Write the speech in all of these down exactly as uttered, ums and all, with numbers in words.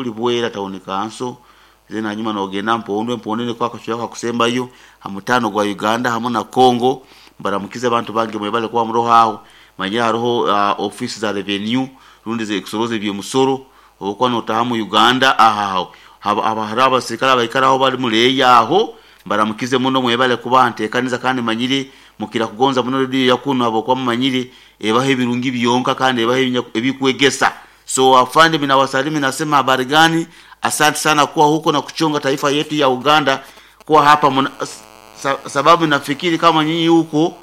Kuli Bwera Town Council, then hanyuma nogenda Mpondwe. Mpondwe niko akachweka kusembayo hamutano gwa Uganda hamwe na Congo. Mbaramukize abantu bange, mwebale kuba muroho aho. Manyira hariho uh, office za revenue rundi zekusoroza ebyomusoro obukuba notaha mu Uganda ahaho haba hariho abasirikale abaikaraho bali muleeya aho. Mbaramukize muno, mwebale kuba ntekaniza, kandi manyire mukira kugonza muno rediyo yakuno habwokuba mumanyire ebaho ebirungi byonka kandi ebaho ebikwegesa. So afande, minawasalimu, nasema habari gani? Asante sana kuwa huko na kuchunga taifa yetu ya Uganda kuwa hapa muna, sa, sababu nafikiri kama nyinyi huko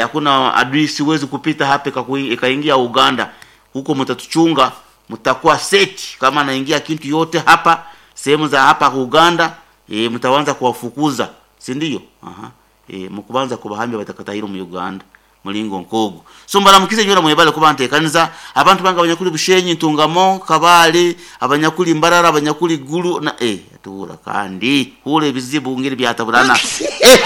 hakuna e, adui siwezi kupita hapa ikaingia Uganda. Huko mtatuchunga, mtakuwa seti kama naingia kintu yote hapa sehemu za hapa Uganda, e, mtaanza kuwafukuza, si ndio? Aha, e, mkubanza kubahambya batakatahiro mu Uganda mulingo nkogo. So mbaramukize nyora mwebale kuba ntekaniza abantu banga abanyakuli Bushenyi, Ntungamo, Kabale, abanyakuli Mbarara, abanyakuli Gulu na eh tuhura kandi hule ebizibu ngiri byataburana eh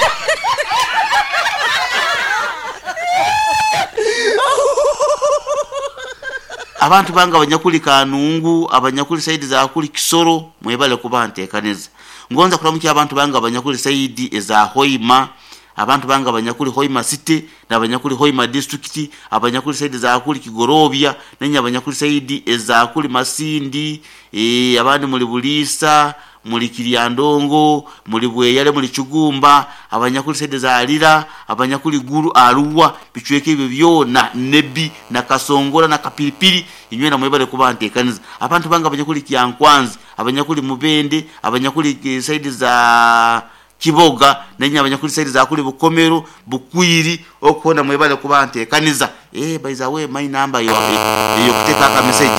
abantu banga abanyakuli Kanungu, abanyakuli saidi za kuli Kisoro, mwebale kuba ntekaniza. Ngonza kulamukia abantu banga abanyakuli saidi eza Hoima, abantu banga abanyakuli Hoima City na abanyakuli Hoima District, abanyakuli saidi za kuli Kigorobya, nenya abanyakuli saidi eza kuli Masindi, e, abandi muli Bulisa, muli Kiryandongo, muli Bweyale, muli Chugumba, abanyakuli saidi za Alira, abanyakuli Gulu, Arua, bichweke ebyo byona, Nebi na Kasongola na Kapilipili, inywe na mwebale kuba ntekaniza. Abantu banga abanyakuli Kyankwanzi, abanyakuli Mubende, abanyakuli saidi za Kiboga, nenya abanyakuli saidi za kuli Bukomero, Bukwiri, okona mwebale kuba ntekaniza. Eh, by the way, my number yo eyo kuteka aka message.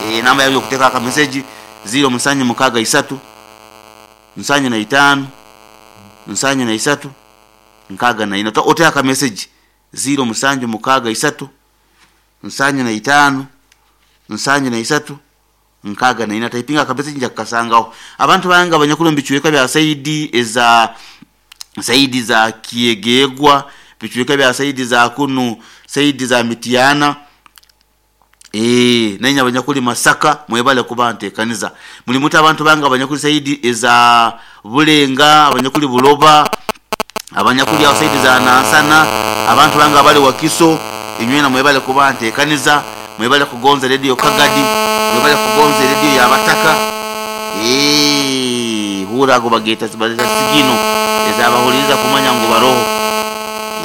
Eh, namba yo kuteka aka message zero musanyu mukaga isatu nsanyu na itano nsanyu na isatu nkaga na ina. Oteka message zero musanju mukaga isatu nsanyu na itano nsanyu na isatu nkaga na ina. Typinga kabisa nja kasangaho. Abantu banga abanyakulu mbichweka bya saidi eza saidi za Kiegegwa, bichweka bya saidi za kunu saidi za Mitiana, eh nenya abanyakuli Masaka, mwebale kuba ntekaniza. Mulimuta abantu banga abanyakuli saidi eza Bulenga, abanyakuli Buloba, abanyakuli aho saidi za Nansana, abantu banga abali Wakiso, inywena mwebale kuba ntekaniza. Mwebale kugonza radio Kagadi, mwebale kugonza radio ya Bataka. Eh, hura go bageta zibaza sigino ezabahuriza kumanya ngo baroho.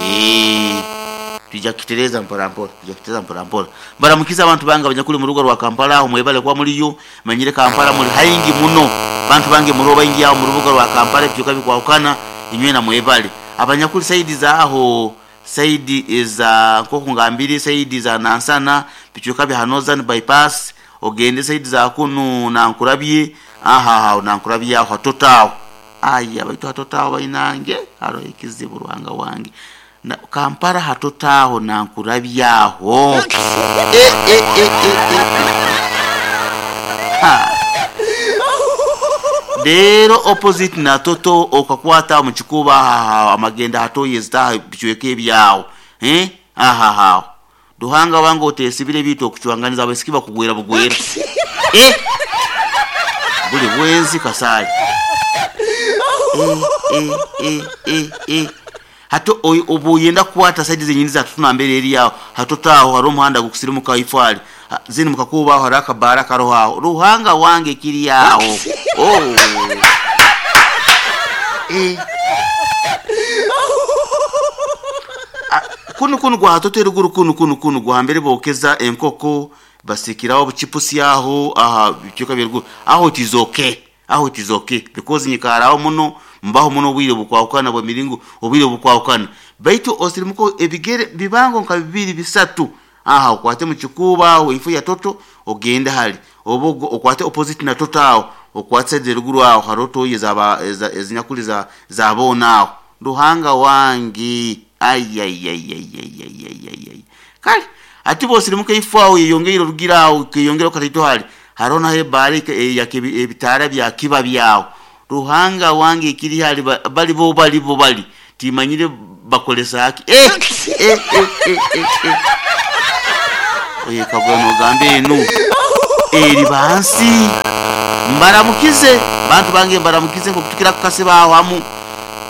Eh, tujja kitereza mpora mpora, tujja kitereza mpora mpora. Baramukiza abantu banga abanyakuli mu rugo rwa Kampala aho mwebale kwa muliyo, manyire Kampala muri haingi muno. Bantu bange muroba ingi aho mu rubuga rwa Kampala byuka bikwahukana, inywena mwebale. Abanyakuli saidi za aho saidi eza nkoko ngambiri saidi za Nansana, bichuka bya Northern Bypass, ogende saidi za kunu na nkurabye, aha ha na nkurabye aho hatotao. Aya baitu hatotao bainange haro ikizibu ruhanga wange. Na Kampala hatotao na nkurabye aho. Eh eh eh eh eh. Ha. Dero opposite na toto okakwata mu kikuba amagenda hatoye zita bichweke ebyawo eh aha ha duhanga wangu otesibire bito okuchwanganiza abasikiba kugwera bugwera eh buli bwenzi kasali eh eh eh eh eh hato obuyenda kwata saidi zenyini za tutuna mbere eri yawo hatotaho hari omuhanda gukusirimuka ifali zini mukakuba aho haraka baraka roho ruhanga wange kiri yawo. Oh. Eh. Kunu kunu gwa hatote ruguru kunu kunu kunu gwa hambere bokeza enkoko basikiraho buchipusi aho aha bichuka biruguru aho it is okay, aho it is okay because nyikaraho muno mbaho muno bwire bukwahukana bwa miringo obwire bukwahukana baitu osirimuko ebigere bibango nka bibiri bisatu aha okwate mu kikuba aho ifu ya toto ogenda hali obo okwate opposite na toto aho okwate ruguru aho haroto yezaba ezinyakuli za zabona aho ruhanga wangi ay ay ay ay ay ay ay ay kali ati bosirimuko ifu aho yongera rugira aho kiyongera katito hali harona he bari ya ebitara bya kiba byawo ruhanga wangi kiri hali bali bo bali bo bali timanyire bakolesa haki eh eh eh eh eh, eh. Oye kagwano gambe enu Eri bansi mbaramukize bantu bange, mbaramukize nkokutukira kukasiba aho hamu.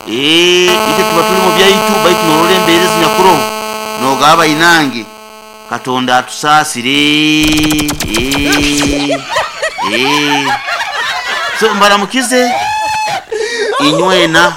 Eh, ite tuba tuli mu byaitu baitu norora embeera ezinyakuroho nogaba inange Katonda atusaasire. Eh, eh. So mbaramukize inywena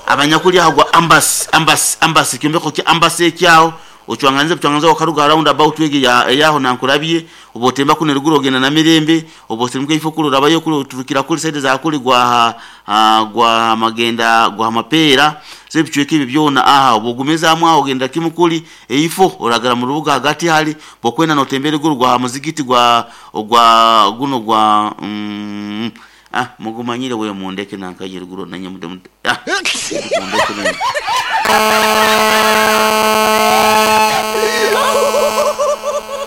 abanyakuli aho gwa ambasi ambasi ambasi kyombeko kya ambasi ekyaho ocwanganze bucwanganze wakaruga round about wege ya yaho nankurabye obotemba kuno ruguru ogenda na mirembe obosirimuka ifo kulu rabayo kulu turukira kuli side za kuli gwa uh, gwa magenda gwa mapera se bichweke ibi byona aha obugumeza amwe aho ogenda kimukuli eifo oragara mu rubuga hagati hali bokwenda notembere guru gwa muzigiti gwa gwa guno gwa mm, ah mugumanyire we mundeke nankaje ruguru nanye mude mude ah mundeke nanye.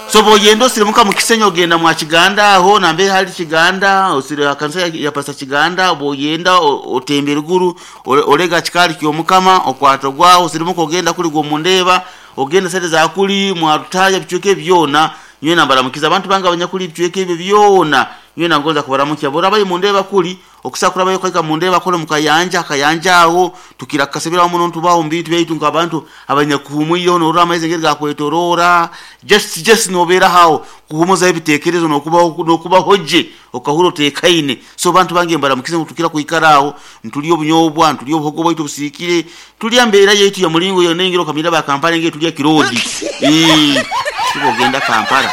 So boyendo osirimuka mu Kisenyi ogenda mwa Kiganda aho nambe hali Kiganda osire kanisa ya, ya pasa Kiganda boyenda otembera ruguru olega kikali kyomukama okwato gwaho osirimuka ogenda kuli gwo mundeba ogenda sente za kuli mwa rutaya bichweke byona nywe nambaramukiza abantu banga abanyakuli bichweke ebyo byona nywe nangonza kubaramukya bora bayi mundeba kuli okusakura bayo kaika mundeba kole mukayanja kayanja aho tukira kasebera muno ntubaho mbintu byaitu nkabantu abanyakuhumuyo norora amaizi ngeri gakwetorora just just nobera hawo kuhumuza ebitekerezo nokubaho nokubahoje okahuro tekaine. So bantu bange mbaramukize tukira kuikaraho ntuliyo bunyobwa ntuliyo obuhogo bwaitu busikire tulya mbera yetu ya mulingo yonengero kamira ba Kampala nge tulya kirodi eh tubogenda Kampala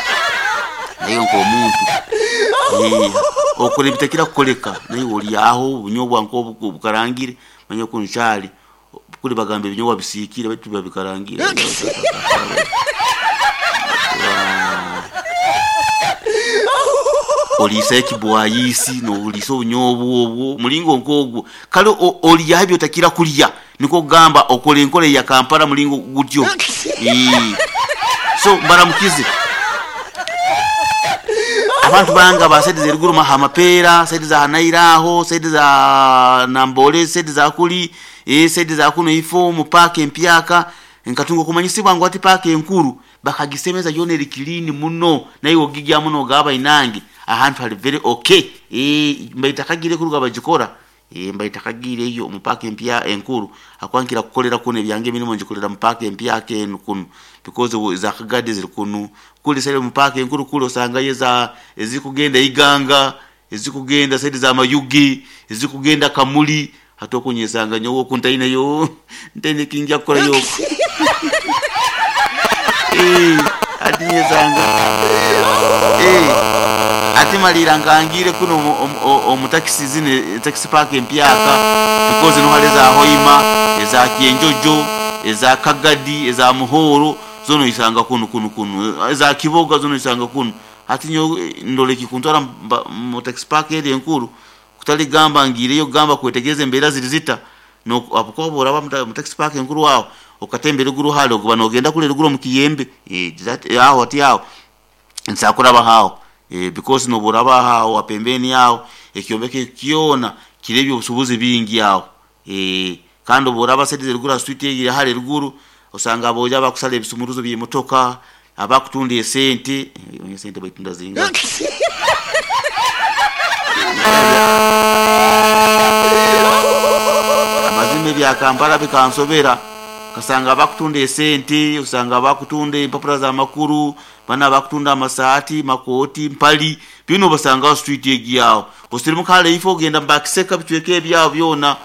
nayo nko omuntu eh okore bitakira kukoleka nayo oli aho bunyobwa nko bukarangire manye kunchali kuli bagambe binyobwa bisikire baitu babikarangire olisa ekibwayisi no olisa obunyobwa obwo mulingo nkogwo kale oli yabyo takira kulya niko gamba okole enkole ya Kampala mulingo gutyo. Eh so mbaramukize abantu banga ba side zeruguru mahamapera side za Hanairaho side za Nambole side za kuli eh side za kuno ifo mu park empyaka nkatungo kumanyisibwa ngo ati park enkuru bakagisemeza yone likilini muno nayo ogigya muno gaba inangi ahantu hali very okay. Eh mbaitakagire kuruga bagikora eh mbaitakagire iyo mu park empya enkuru akwankira kukolera kuno ebyange mirimo njikolera mu park empya kenu kuno because za kagadi ziri kuno kuli sale mu park enkuru kulo osanga yeza ezikugenda iganga ezikugenda side za mayugi ezikugenda kamuli hatokunyesanga nyowo kuntaine yo ntende kinja kukola yo eh atinyesanga eh atimalira ngangire kuno omu taxi zine taxi park empyaka because no hale za Hoima eza Kienjojo eza Kagadi eza Muhoro zono isanga kuno kuno kuno eza Kiboga zono isanga kuno ati nyo ndoleki kuntwara mu taxi park eri enkuru kutali gamba ngire yo gamba kwetegeze embera zirizita no apukobora ba mu taxi park enkuru wawo okatembera guru halo kuba nogenda kule ruguru mu Kiyembe eh aho ati aho nsakura bahawo eh because no buraba hawo apembeni yawo ekyombeke kiona kirebyo obusubuzi bingi yawo eh kandi buraba side ruguru street iri hale ruguru osanga aboja bakusala ebisumuruzo by'emotoka abakutunda esente esente bayitunda zinga amazima bya Kampala bikansobera kasanga abakutunda esente usanga abakutunda empapula za makuru bana bakutunda amasaati makoti mpali bino basanga street egyawo osirimu kale ifo ogenda mbakiseka bichweke ebyawo byona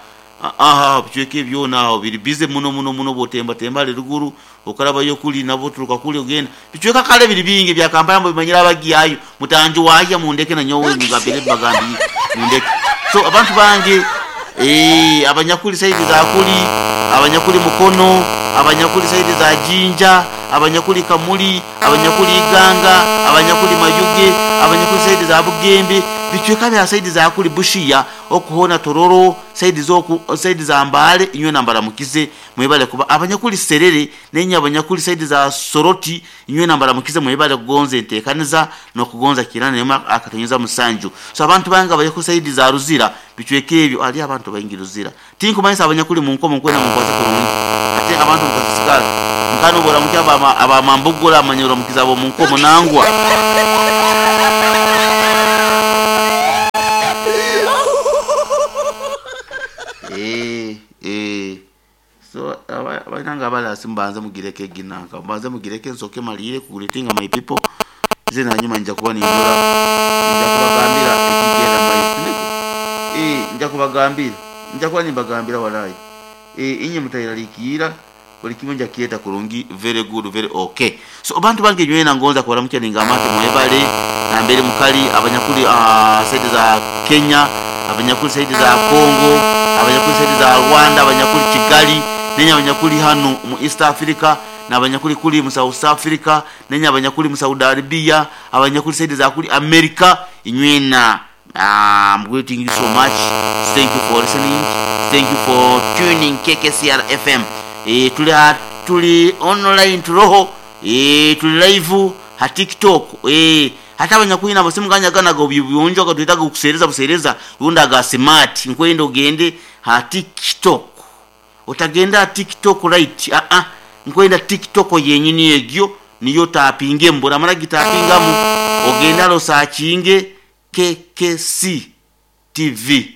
aha bichweke byona aho biri bize muno muno muno botemba temba ruguru okaraba yo kuli nabo turuka kuli ogenda bichweka kale biri bingi bya Kampala mubimanyira abagiyayo mutanju wajya mundeke na nyowe ngabere bagambi mundeke. So abantu bange eh abanyakuli side za kuli abanyakuli mukono abanyakuli side za Jinja abanyakuli Kamuli abanyakuli Iganga abanyakuli Mayuge abanyakuli side za Bugembe bichweka bya side za kuli Bushiya okuhona Tororo side zo side za Mbale inywe nambara mukize mwebale kuba abanyakuli Serere nenya abanyakuli side za Soroti inywe nambara mukize mwebale kugonza entekaniza no kugonza kirana nema akatonyeza musanju. So abantu banga abanyakuli side za Ruzira bichweke ebyo ali abantu baingi Ruzira tinkumanyisa abanyakuli mu nkomo nkwena mukwaze kurungi ate abantu mukasikala nkano bora mukyaba abamambugula amanyoro mukiza bo mu nkomo nangwa. Abalasi mbanze mugireke ginanka mbanze mugireke nsoke malire kugreetinga my people ze nanyuma nja kuba nindora nja kubagambira ekigenda maiso eh nja kubagambira nja kuba nimbagambira walai eh inye mutayiralikiira buli kimwe nja kieta kurungi very good very okay. So abantu bange nywena ngonza kubaramukya ningamate mwebale nambere mukali abanyakuli uh, side za Kenya, abanyakuli side za Congo, abanyakuli side za Rwanda, abanyakuli Kigali, nenya abanyakuli hano mu East Africa, na abanyakuli kuli mu South Africa, nenya abanyakuli mu Saudi Arabia, abanyakuli side za kuli America inywena. I'm greeting you so much. Thank you for listening. Thank you for tuning K K C R F M. E, tuli tuli online turoho e, tuli live ha TikTok e, hata abanyakwina basimuganya gana go byonjo katwitaga kusereza busereza runda ga smart nkwendo gende ha TikTok otagenda TikTok right a a nkwenda TikTok yenyini egyo niyo tapinge mbura mara gitapingamu ogenda lo sakinge K K C T V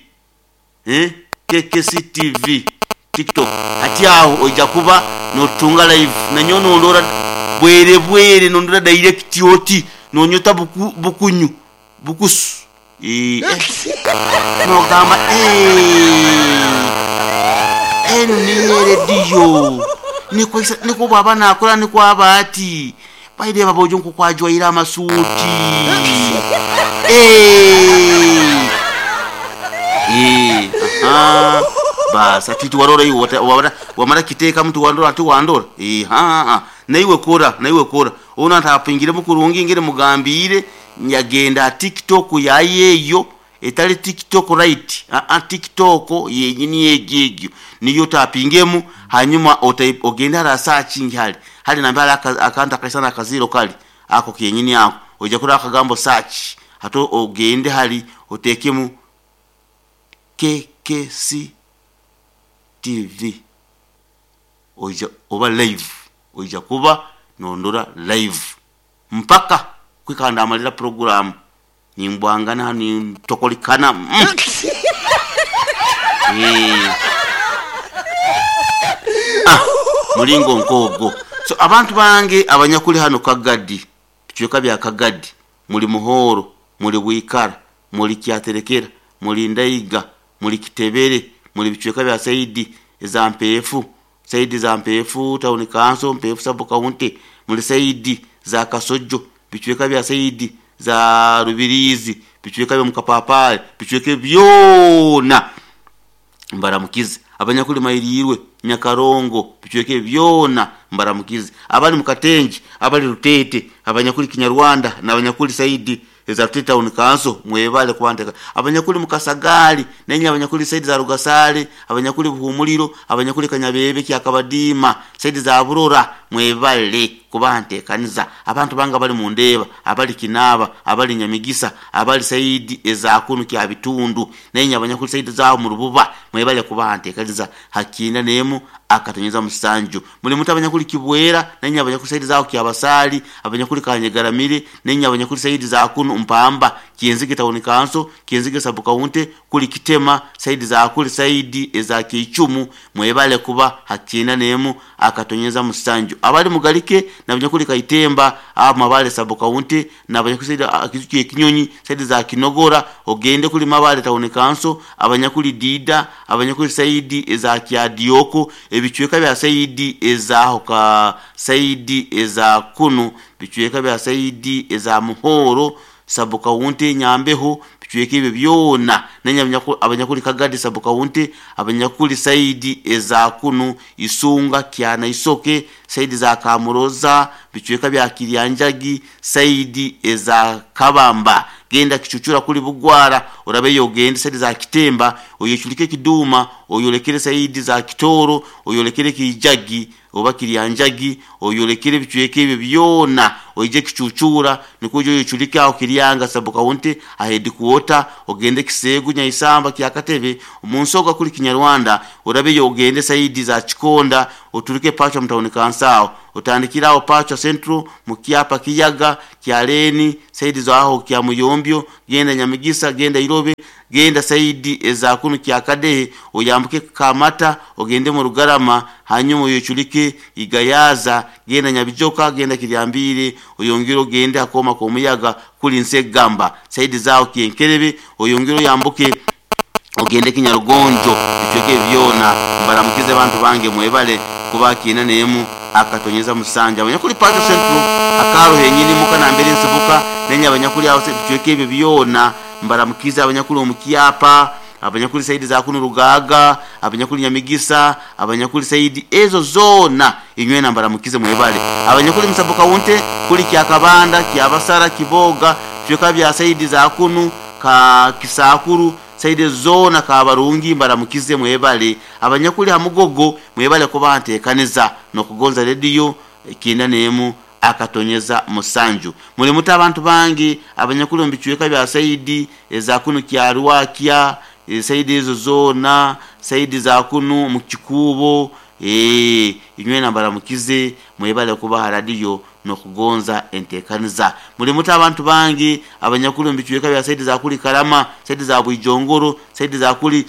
eh K K C T V TikTok hati aho ojja kuba notunga live nanyono ndora bwere bwere nondora direct oti nonyota buku, bukunyu bukusu eh no gamba eh eno ni radio niko niko baba nakora niko abati baide babojo nko kwajwaira amasuti eh eh aha basa titu warora iwo wamara kiteka mtu wandora ati wandora eh ha naiwe kora naiwe kora ona ntapingire mukurungi ngere mugambire nyagenda TikTok yayeyo etali TikTok right a a TikTok yenyini yegegyo niyo tapingemu hanyuma ogenda ra searching hali hali nambala akanta kaisana kaziro kali ako kenyini ako oja kura akagambo search hato ogende hali otekemu K K C T V oja oba live oja kuba nondora live mpaka kwikanda amalira program nimbwangana ni tokolikana mm. eh ah mulingo nkogo. So abantu bange abanyakuli hano Kagadi bichweka bya Kagadi muri Muhoro muri Wikara muri Kyaterekera muri Ndaiga muri Kitebere muri bichweka bya Saidi za Mpefu Saidi za Mpefu town council Mpefu sub county muri Saidi za Kasojo bichweka bya Saidi za Rubirizi bichweka bya Mukapapale bichweke byona mbaramukize abanyakuli Mairirwe Nyakarongo bichweke byona mbaramukize abali Mukatenji abali Rutete abanyakuli Kinyarwanda na abanyakuli Saidi za Rutete town council mwebale kwandika abanyakuli Mukasagali nenye abanyakuli Saidi za Rugasale abanyakuli Buhumuliro abanyakuli Kanyabebe kyakabadima Saidi za Burora mwebale kubantekaniza abantu banga bali mundeba abali Kinaba abali Nyamigisa abali Saidi eza kunu kya bitundu nenye abanyakuli Saidi za mu Rububa mwebale kubantekaniza hakina nemu akatonyeza musanju muri muta abanyakuli Kibwera nenye abanyakuli Saidi za kyabasali abanyakuli Kanyegaramire nenye abanyakuli Saidi za kunu Mpamba Kienzige town council Kienzige sub county kuli Kitema Saidi za kuli Saidi eza Kichumu mwebale kuba hakina nemu akatonyeza musanju abali Mugalike na abanyakuli Kaitemba aba Mabale sub county na abanyakuli Saidi akizuki Kinyonyi Saidi za Kinogora ogende kuli Mabale town council abanyakuli Dida abanyakuli Saidi eza Kyadioko ebichweka bya Saidi eza hoka Saidi eza kunu bichweka bya Saidi eza Muhoro sub county Nyambeho bichweka ibyo byona nenya abanyakuli Kagadi sub county abanyakuli Saidi eza kunu Isunga Kyana Isoke Saidi za Kamuroza bichweka bya Kiryanjagi Saidi eza Kabamba genda kichuchura kuli Bugwara urabeyo genda Saidi za Kitemba oyechulike Kiduma oyolekere Saidi za Kitoro oyolekere Kijagi oba Kiryanjagi oyolekere bichweke ibyo byona oije kichuchura nikujo yochulike aho Kiryanga sub county ahedi kuota ogende Kisegu Nyaisamba kyakatebe umunsoga kuli Kinyarwanda urabeyo ogende Saidi za Chikonda oturuke Pacho mtauni kansao otandikiraho Pacho Central mukyapa Kiyaga Kyaleni Saidi za aho kya Muyombyo genda Nyamigisa genda Irobe Genda saidi eza kunu Kyakadehe, oyambuke Kamata, ogende mu Rugarama, hanyuma oyoculike Igayaza, genda Nyabijoka, genda Kiryambire, oyongere ogende akoma k'omuyaga kuli Nsegamba saidi zaawo Kyenkerebe, oyongere oyambuke ogende Kinyarugonjo. Bicweka byona mbaramukize bantu bange, mwebale kuba kiina nemu akatonyeza musanja. Abanyakuli Pato Central akaro henyini muka nambere nsibuka nenya abanyakuli aho bicweka ebyo byona mbaramukize. Abanyakuli omukyapa, abanyakuli saidi za kunu Rugaga, abanyakuli Nyamigisa, abanyakuli saidi ezo zona inywena mbaramukize mwebale. Abanyakuli Musabuka wunte kuli Kyakabanda, Kyabasara, Kiboga, bicweka bya saidi za kunu ka Kisakuru saidi zona Kabarungi mbaramukize mwebale. Abanyakuli Hamugogo mwebale kuba nteekaniza nokugonza radio kinda nemu akatonyeza musanju. Muli muta abantu bangi abanyakuli mu bicweka bya saidi eza kunu Kyarwakya, saidi ezo zona saidi za kunu mu Kikubo, eh inywena mbaramukize mwebale kuba radio nokugonza entekaniza. Muli muta abantu bangi abanyakuli mu bicweka bya saidi za kuli Karama, saidi za Bwijongoro, saidi za kuli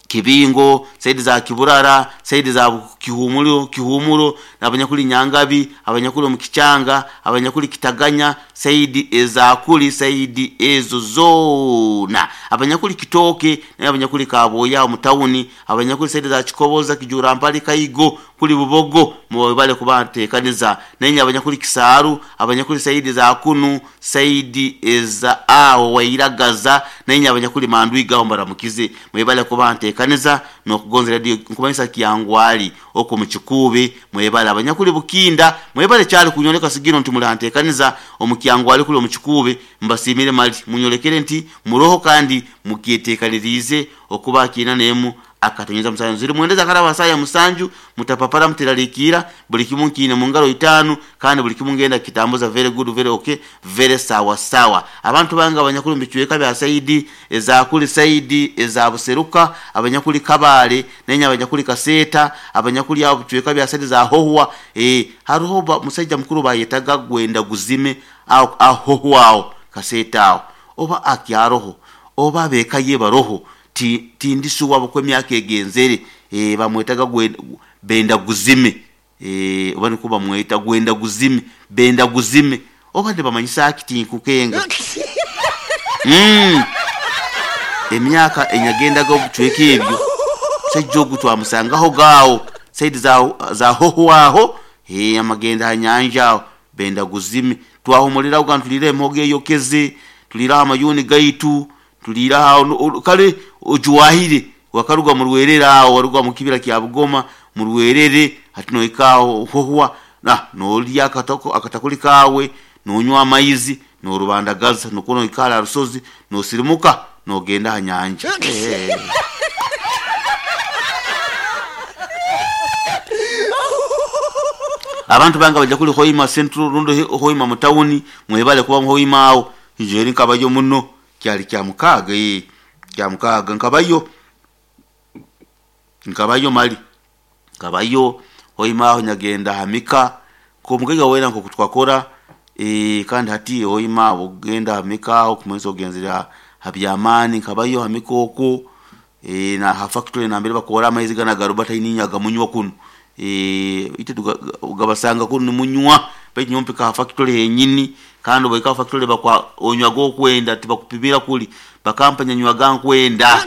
Kibingo, saidi za Kiburara, saidi za Kihumuro, Kihumuro, abanyakuli Nyangabi, abanyakuli mu Kichanga, abanyakuli Kitaganya, saidi eza kuli saidi ezo zona, abanyakuli Kitoke, n'abanyakuli Kaboya mu tawuni, abanyakuli saidi za Kikoboza, Kijura Mpali, Kaigo, kuli Bubogo, mwebale kuba ntekaniza. Nenye abanyakuli Kisaru, abanyakuli saidi za kunu, saidi eza aho wairagaza, nenye abanyakuli Mandwiga mbaramukize mwebale kuba ntekaniza nokugonza radio nkumanyisa Kyangwali oko mu Kikuube mwebale. Abanyakuli Bukinda mwebale kyali kunyoleka sigino nti mulantekaniza omu Kyangwali kuli omu Kikuube, mbasimire mali munyolekere nti muroho kandi mukyetekanirize okuba kiina nemu akatonyeza musanju. Ziri mwendeza karaba saya musanju mutapapara mutiralikira buli kimu kiine mu ngalo itano kandi buli kimu ngenda kitambuza very good, very okay, very sawa sawa. Abantu banga abanyakuli mbicweka bya saidi eza kuli saidi eza Buseruka, abanyakuli Kabale, nenya abanyakuli Kaseta, abanyakuli abo bicweka bya saidi za Hohwa, eh haruho musajja mukuru bayetaga gwenda guzime aho Ahohwa aho Kaseta aho oba akyaroho oba bekaye baroho ti tindisuwa bukwe myaka egenzere, eh bamwetaga gwenda benda guzime, eh oba niko bamweta gwenda guzime benda guzime oba ne bamanyisa akiti nkukenga mm emyaka enyagenda go bucweka ebyo sajjo gutwamusangaho gawo saidi za za hohwaho eh amagenda hanyanja benda guzime twahumulira ugantulire emhoge yokeze tulira amayuni gaitu tulira aho kale ojuwahire wakaruga mu Rwerere aho waruga mu kibira kya Bugoma mu Rwerere hati noikaho hohwa na nolya akatako akatakuli kawe nonywa amaizi norubandagaza nukono ikala rusozi nosirimuka nogenda hanyanja. Eh. Abantu banga bajja kuli Hoima Central rundo Hoima mu town mwebale kuba Hoima awo njeri nkabayo muno kyali kya mukaga eh kya mukaga nkabayo nkabayo mali nkabayo Hoima aho nyagenda hamika ko mugega wera nko kutwakora eh kandi hati Hoima ogenda hamika aho kumwenzo ogenzera habyamani nkabayo hamika oko eh na ha factory na mbere bakora amaizi gana garubata ininyaga munywa kuno eh ite gabasanga kuno munywa baitu nyompeka ha factory henyini kandi baika factory bakwa onywa go kwenda tibakupimira kuli bakampanya nywa gankwenda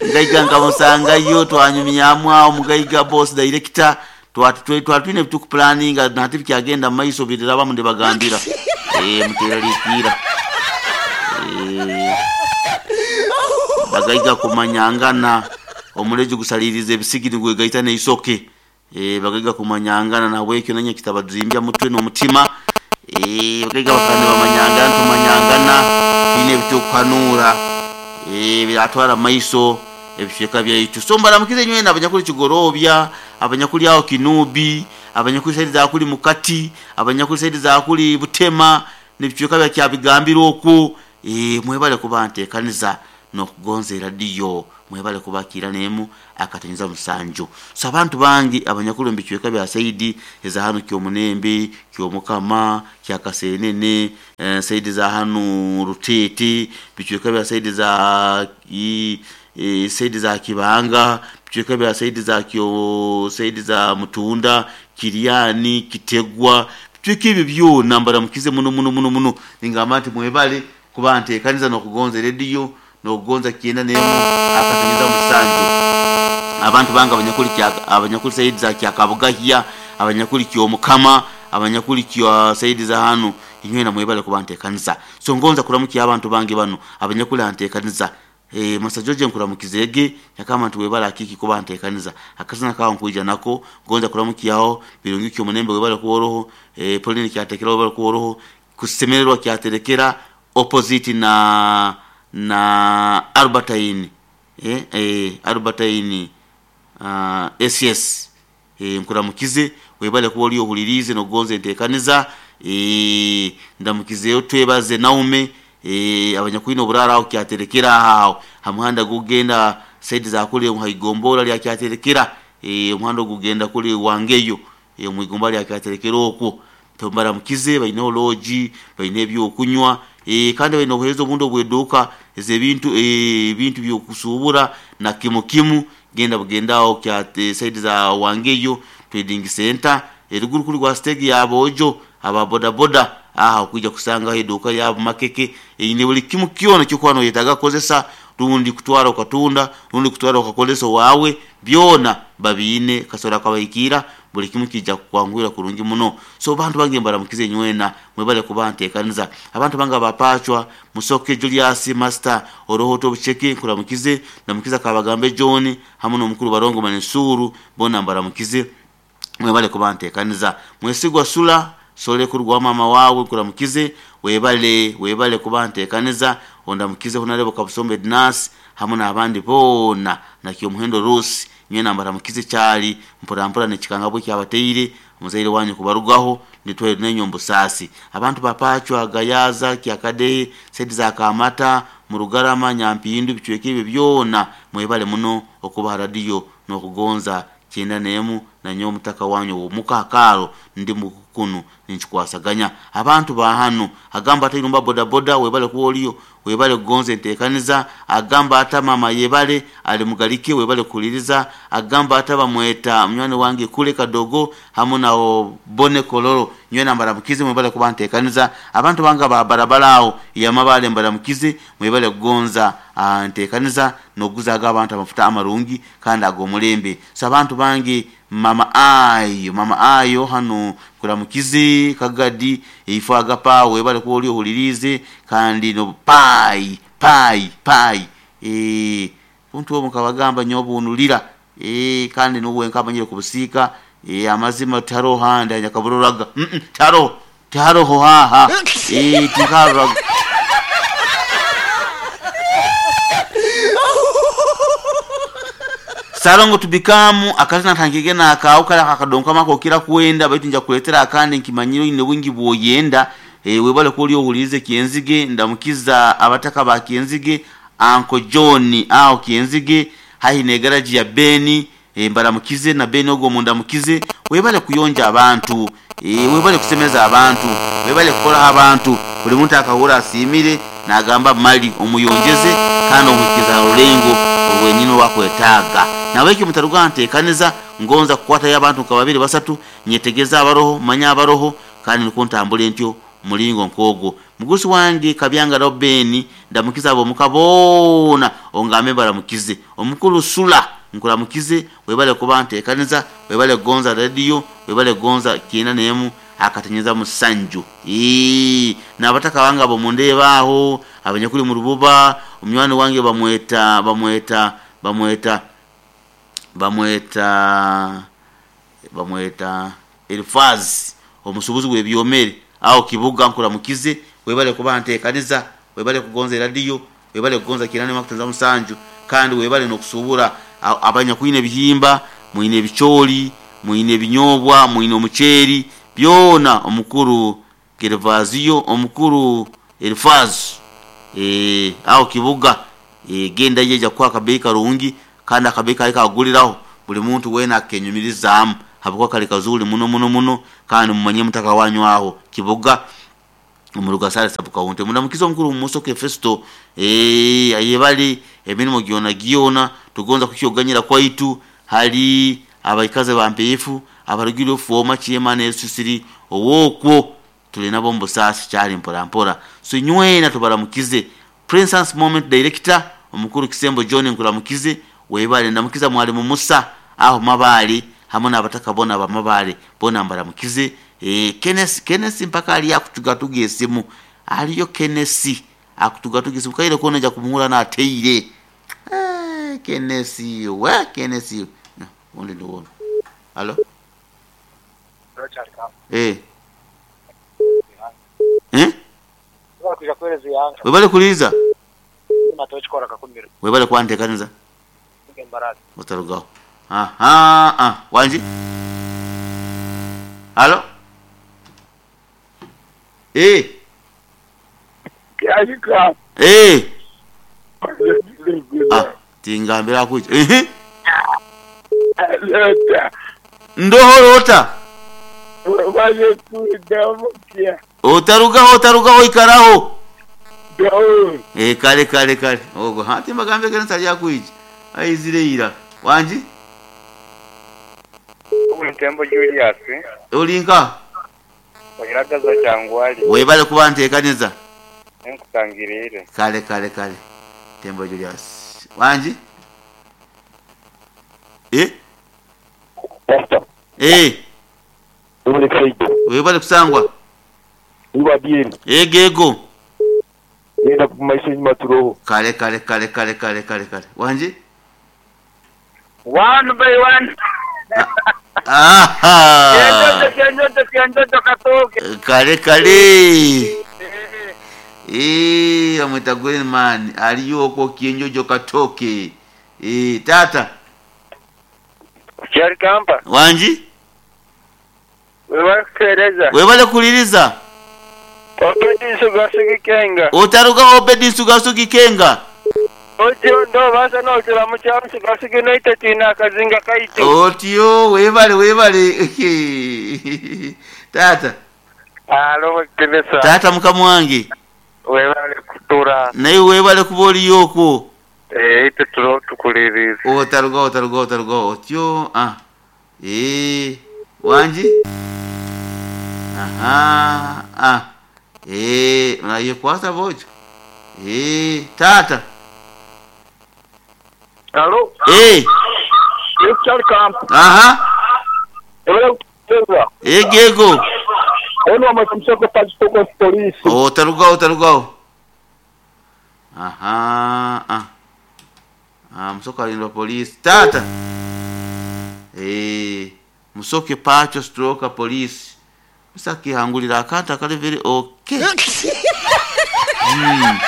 ngaiga nkamusanga yo twanyumyamu awo mugaiga boss director twatwe twatwine tukuplaninga nati byagenda maiso biraba munde bagambira eh muteralikira eh bagaiga kumanyangana omuleji gusalirize ebisigiri gwegaita neisoke eh bagaiga kumanyangana na wekyo nanye kitabazimbya mutwe no mutima eh bagaiga bakande bamanyangana tumanyangana ine bitukanura eh biratwara maiso ebisheka byaitu. So mbaramukize nywena abanyakuli Kigorobya, abanyakuli aho Kinubi, abanyakuli saidi za kuli Mukati, abanyakuli saidi za kuli Butema nebisheka bya kyabigambira oku eh mwebale kuba ntekaniza n'okugonza eradiyo mwebale kubakira nemu akatonyeza musanju. So abantu bangi abanyakulu mbicweka bya saidi eza hanu Kyomunembe, Kyomukama, Kyakasenene, eh, saidi za hanu Rutete, bicweka bya saidi za i, e, saidi za Kibanga, bicweka bya saidi za kyo saidi za Mutunda, Kiriani, Kitegwa, bicweka ebyo byona mbaramukize muno muno muno muno. Ningamba nti mwebale kuba nteekaniza n'okugonza rediyo n'okugonza kyenda nemu akatonyeza musanju. Abantu banga abanyakuli kya abanyakuli saidi za Kyakabugahya, abanyakuli Kyomukama, abanyakuli kya saidi za hanu inywena mwebale kuba nteekaniza. So ngonza kuramukia abantu bange bano abanyakuli anteekaniza. Eh, Masa George nkuramukizege nyakama nti webale akiki kuba nteekaniza akazina kawo nkuija nako ngonza kuramukiaho birungi Kyomunembe webale kuworoho, eh, Pauline kyatekera webale kuworoho, kusemererwa kyaterekera opposite na na Albertine, eh, eh, Albertine uh, S S, eh, nkuramukize webale kuba oli ohulirize nogonza enteekaniza. Eh, ndamukizeyo twebaze Naume, eh, abanyakwino oburara aho kyaterekera aho hamuhanda gugenda saidi za kule muhaigombola lya kyaterekera, eh, omuhanda gugenda kule wangeyo, eh, muigomba lya kyaterekera okwo tombaramukize baine loji baine ebyokunywa, eh, kandi baine obuheereza obundi obweduuka ez'ebintu, eh, ebintu byokusubura na kimu kimu genda bugendaho kya saidi za wangeyo trading center eruguru kuli gwa stage ya bojo aba boda boda aha okuija kusanga eduka yabo makeke eine buli kimu kyona kyokwano yetaga kozesa rundi kutwara okatunda rundi kutwara okakolesa wawe byona babiine kasora kabaikira buli kimu kijja kukwangwira kurungi muno. So bantu bange mbaramukize nywena mwebale kuba nteekaniza. Abantu bange abapachwa Musoke Julius Master orohoto bucheke nkuramukize ndamukiza kabagambe John hamwe n'omukuru barongo Mansuru bona mbaramukize mwebale kuba nteekaniza. Mwesigwa Sula sole kurwa mama wawe nkuramukize webale webale kuba nteekaniza ondamukize honarebo Kabusombe Dinas hamwe n'abandi bona na Kyomuhendo Rose nyena mbaramukize cyali mpora mpora nekikanga bwe kyabateire muzaire wanyu kubarugaho nitwe nenyombo sasi. Abantu bapachwa Gayaza Kyakade saidi za Kamata Murugarama Nyampindu bicweke ebyo byona mwebale muno okuba radio n'okugonza kyenda nemu na nyo mutaka wanyu omukakaro ndi mukunu ninchikwasaganya abantu ba hano agamba ata irumba boda boda webale kuoliyo webale kugonza enteekaniza agamba ata mama yebale ali mugalike webale kuliriza agamba ata bamweta munywani wange kule kadogo hamu na bone koloro nywena mbaramukize mwebale kuba nteekaniza. Abantu banga ba barabara aho yamabale mbaramukize mwebale kugonza nteekaniza noguzaga abantu amafuta amarungi kandi agomulembe. So abantu bange mama ayo mama ayo hano kuramukize kagadi ifaga pa webale kuoli ohulirize kandi no pai pai pai eh buntu obo kabagamba nyobunulira eh kandi nuwe nkabanyire kubusika eh amazima taro handa nyakaburoraga mm -mm, taro taro ho ha ha eh tikaro Sarongo tubikamu akazina tangigena akauka akadonka mako kira kuenda baitu nja kuletera akandi nkimanyiro ine wingi bwoyenda e, webale kuli ohulize Kienzige ndamukiza abataka ba Kienzige Uncle John ao Kienzige hahi ne garage ya Beni e, mbaramukize na Beni ogo mundamukize webale kuyonja abantu e, webale kusemeza abantu webale kukola abantu buli muntu akahura asimire nagamba mali omuyongeze kandi omukiza rulengo wenyine wakwetaga naweki mutaruga nteekaniza ngonza kukwata y'abantu nka babiri basatu nyetegeza abaroho manya abaroho kandi nikuntambula ntyo mulingo nkogo mugusi wange Kabyanga Robeni ndamukiza abo mukabona ongambe baramukize omukulu Sula nkuramukize webale kuba nteekaniza webale gonza radio webale gonza kyenda nemu akatenyeza musanju ee nabataka wanga abo mundebaho abanyakuli mu rububa omywani wange bamweta bamweta bamweta bamweta bamweta Elfaz omusubuzi webyomere aho kibuga nkuramukize webale kuba nteekaniza webale kugonza radio webale kugonza kirane makutanza musanju kandi webale nokusubura abanyakwine bihimba mwine bicholi mwine binyobwa mwine omucheri byona omukuru Gervazio omukuru Elfaz eh aho kibuga E, genda yeja kwa akabeyi karungi kandi akabeyi kali kaguliraho buli muntu wena akenyumirizaamu habwokuba kali kazuri muno muno muno kandi mumanye mutaka wanyu aho Kiboga omurugasale sub county. Munamukiza omukuru Musoke Festo eh ayebali emirimu gyona gyona tugonza kukyoganyira kwaitu hali abaikaze bampeefu abarugire ofoma chairman esisiri owokwo tuli nabo mbusasi kyali mpora mpora so nywena tubaramukize. Princess Moment Director omukuru Kisembo John nkuramukize webale ndamukiza mwalimu Musa aho mabali hamwe n'abataka bona bamabale bona mbaramukize. E, Kenneth Kenneth mpaka ali akutugatuga esimu aliyo Kenneth akutugatuga esimu kaire kona ja kumuhura na ateire eh Kenneth we Kenneth no only the one hello eh eh webale kuliza webale kwantekaniza utarugaho aha ah wanji halo eh Kyalika eh ah tingambira kuja eh lota ndohorota waje kudamukia utarugaho utarugaho ikaraho do eh kale kale kale ogo hati magambe kana sali yakuija aizireira wanji Ntembo Julius olinka oyiragaza kyangwali webale kuba nteekaniza nkutangirire kale kale kale Tembo Julius wanji eh Pastor, eh uri kaito webale kusangwa uba bien egego yenda kumaisha nyuma turoho kale kale kale kale kale kale kale wanji one by one aha kenjojo kenjojo kenjojo katoke kale kale eh amwita green man aliyoko kienjojo katoke eh tata Kyalikampa wanji webale kutereza webale kuliriza Obedi Sugasugi Kenga otaruga Obedi Sugasugi Kenga otyo ndo basa nokira mukyalo Sugasugi noite tina akazinga kaitu otyo webale webale tata alo kenesa tata mukama wange webale kutura naye webale kuba oliyokwo eh ite turo tukuliriza otaruga otaruga otaruga otyo ah eh wanji aha ah eh naye kwasa bojo eh tata Hello eh Kyalikampa aha webale kutereza egego ono amatumsoko pachitoko polisi otaruga otaruga aha ah ah msoka alindwa polisi tata eh musoke pacho stroke polisi musakihangulira akanta kali very okay mm.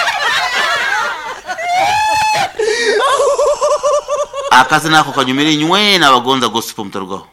Akazi nako kanyumire nywena abagonza gospel mutarugaho.